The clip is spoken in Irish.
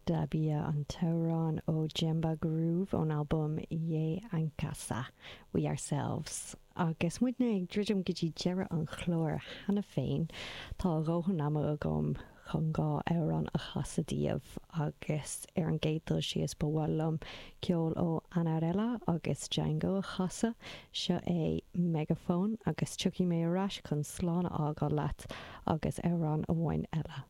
Dabia an t-amhrán ó Djemba Groove ón albam Ye Ankasa, We Ourselves. Agus muidne ag druidim go dtí deireadh an chláir cheana féin, tá a dhóthain ama agam chun 2 amhrán a chasadh daoibh agus ar an gcéad dul síos ba mhaith liom ceol ó Annarella agus Django a chasadh. Seo é Megaphone agus tiocfaidh mé ar ais chun slán a fhágáil leat agus amhrán amháin eile.